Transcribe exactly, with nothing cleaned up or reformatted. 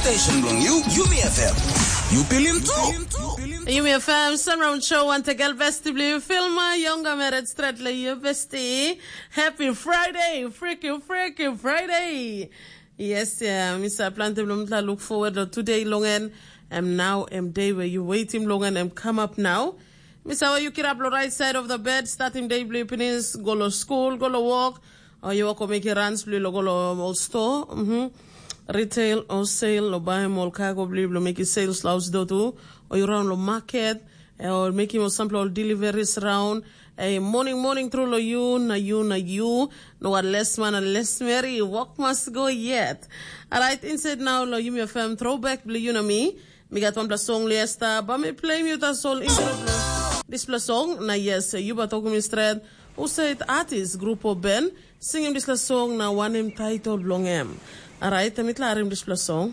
Station bilong you, Yumi F M. You feel him too. Yumi F M, Sunround Show, want to get bestie blue, Filma, younger married, straight like your bestie. Happy Friday, freaking, freaking Friday. Yes, yeah, Mister Planty Blum, look forward to today, long end. And now, and day where you waiting, long end, and come up now. Mister, you get up the right side of the bed, starting day blue, go to school, go to work, o yu wok o mekim runs bilong lo go lo ol store, retail o sale, lo baim ol cargo bilong bilong mekim sales lo haus do tu, o yu raun lo market, o mekim ol sampela ol deliveries raun. Hey, morning morning tru lo yu na yu na yu. No wan les man na les meri, work must go yet. Alright, inside now lo Yumi F M throwback bilong yu na mi. Mi gat wanpela song liesta, ba mi play mi uta sol intro bilong dispela song. Na yes, yu ba tokim mi stret, husat artist, grup o ben, singim dispela song na wanem title bilong em. Alright, mi tla harim dispela song.